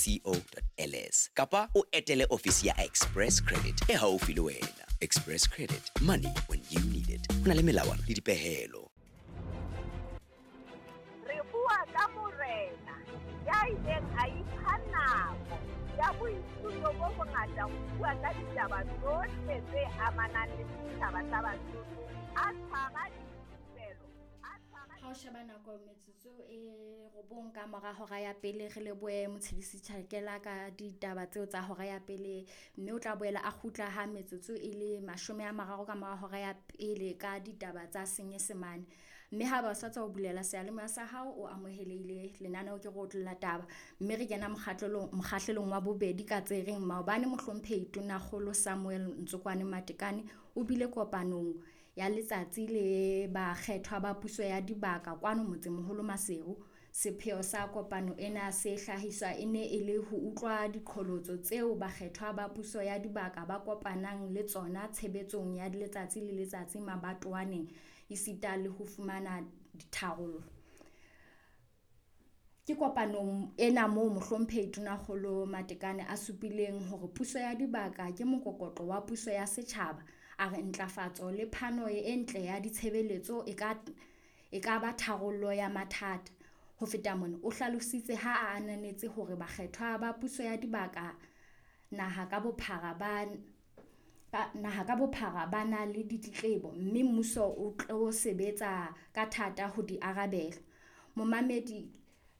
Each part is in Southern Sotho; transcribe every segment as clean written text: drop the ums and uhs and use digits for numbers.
co ls kapa o etele ofisi ya Express Credit e haufi le wena. Express Credit, money when you need it. Ho na le melawana le dipehelo. Re bua ka morena ya ileng a ipha nako ya boithuto bo bongata ho bua ka ditaba tsohle tse amanang le setjhaba sa Basotho, a tshwara dithupelo, a tshwara Ha o sheba nako metsotso e 9 ka mora hora ya pele, re lebohe Motshedisi Tjhakela ka ditaba tseo tsa hora ya pele, mme o tla boela a kgutla ha metsotso e le 30 ka mora hora ya pele ka ditaba tsa Senyesemane. Mme ha ba sa tswa ho bulela seyalemoya sa hao, o amohelehile lenaneo ke re otlolla taba, mme re kena mokgahlelong wa bobedi ka tse reng maobane mohlomphehi Tonakgolo Samuel Ntsokwane Matekane o bile kopanong ya letsatsi le bakgethwa ba puso ya dibaka kwano motsemoholo Maseru. Sepheo sa kopano ena se hlahiswa e ne e le ho utlwa diqholotso tseo bakgethwa ba puso ya dibaka ba kopanang le tsona tshebetsong ya letsatsi le letsatsi mabatowaneng, esita le ho fumana ditharollo. Ke kopanong ena moo mohlomphehi Tonakgolo Matekane a supileng hore puso ya dibaka ke mokokotlo wa puso ya setjhaba. A re ntlafatso le phano e ntle ya ditshebeletso e ka ba tharollo ya mathata. Ho feta mona, o hlalositse ha a ananetse hore bakgethwa ba puso ya dibaka naha ka bophara ba na le ditletlebo, mme mmuso o tlo sebetsa ka thata ho di arabela. Momamedi,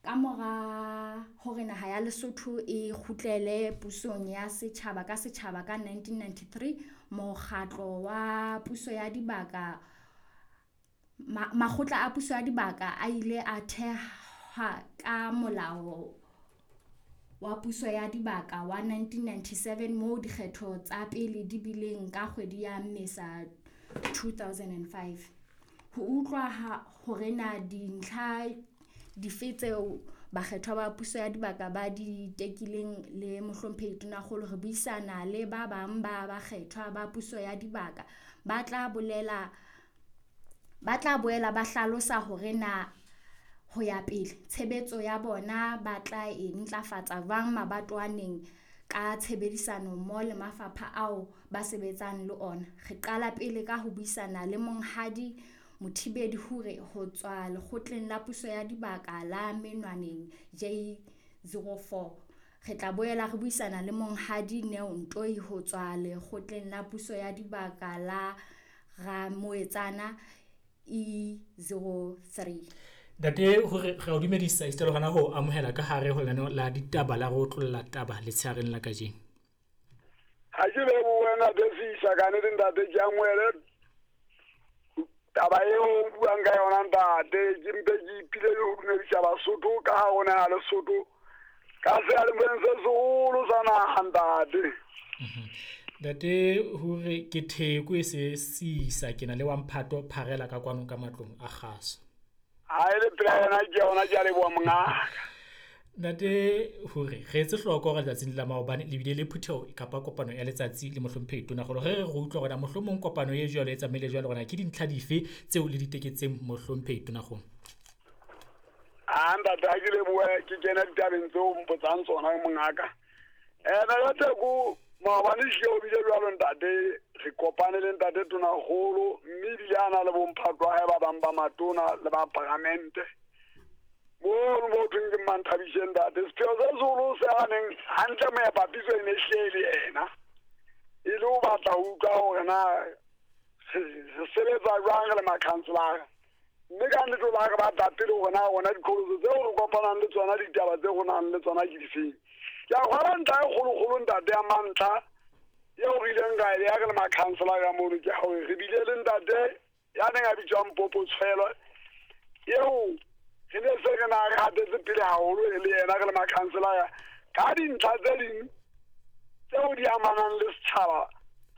ka mora hore naha ya Lesotho e kgutlele pusong ya setjhaba ka setjhaba ka 1993, mokgatlo wa puso ya dibaka, makgotla a puso ya dibaka a ile a thehwa ka molao wa puso ya dibaka wa 1997, moo dikgetho tsa pele di bileng ka kgwedi ya Mmesa 2005. Ho utlwa hore na dintlha dife tseo bakgethwa ba puso ya dibaka ba di tekileng le mohlomphehi Tonakgolo, re buisana le ba bang ba bakgethwa ba puso ya dibaka ba tla boela ba hlalosa hore na ho ya pele tshebetso ya bona ba tla e ntlafatsa jwang mabatowaneng ka tshebedisano mmoho le mafapha ao ba sebetsang le ona. Re qala pele ka ho buisana le Monghadi Mothibedi Hure ho tswa lekgotleng la puso ya dibaka la Menwaneng J04. Re tla boela re buisana le Monghadi Neo Ntoi ho tswa lekgotleng la puso ya dibaka la Ramoetsana E03. Ntate Hure, re o dumedisa esita le hona ho amohela ka hare ho lenaneo la ditaba la re otlolla taba letshehareng la kajeno. Ha ke lebohe ntate Fisa, ka nnete ntate ke amohele taba eo o buang ka yona ntate. Ke mpe ke ipile le ho dumedisa Basotho ka ha rona ya Lesotho ka seyalemoyeng se seholo sa naha ntate. Ntate Hure, ke theko e se sisa ke na le wa mphato pharela ka kwano ka matlong a kgaso. Ha e le pela yona ke yona, ke a leboha mongaka. Ntate Hure, re etse hloko hore letsatsing la maobane le bile le phutheho kapa kopano ya letsatsi le mohlomphehi Tonakgolo. Re re utlwa hore mohlomong kopano e jwalo e tsamaile jwalo, hore ke dintlha dife tseo le di teketseng mohlomphehi Tonakgolo? A ntate, ha ke lebohe, ke kena ditabeng tseo mpotsang tsona mongaka. Ntate ko maobane hlile ho bile jwalo ntate, re kopane le ntate Tonakgolo, mme ebile a na le bomphato wa hae ba bang ba matona le ba paramente. Mono mo thweng ke Manthabishe ntate. Sepheo se seholo se a neng hantle moepapiso e ne hlile e le yena, e le ho batla ho utlwa hore na re sebetsa jwang re le makhanselara. Mme ka nnete o la re batla pele hore na rona diqholotso tseo re kopanang le tsona, ditaba tse re nang le tsona ke difeng. Ke a kgolwa ntlha e kgolokgolo ntate ya mantlha eo re ileng ra e beha re le makhanselara mono ke hore re bile le ntate ya neng a bitswang Popo Tshwelo, eo re ne se re na re hatetse pele haholo e le yena re le makhanselara ka dintlha tse ding tseo di amanang le setjhaba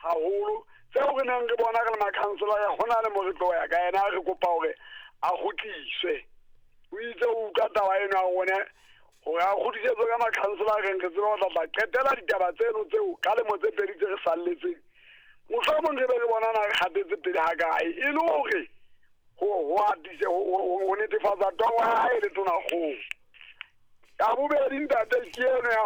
haholo, tseo re neng re bona re le makhanselara ho na le mo re tlo ya ka yena, re kopa hore a kgutliswe. O itse o utlwa taba eno ya rona hore a kgutlisetswe ka makhanselareng, re tsebe ho tla qetela ditaba tseno tseo ka lemo tse pedi tse re salletseng. Mohlomong re be re bona na re hatetse pele ha kae, e le hore ho atise ho netefatsa toro ya hae le Tonakgolo. Ya bobedi ntate ke eno ya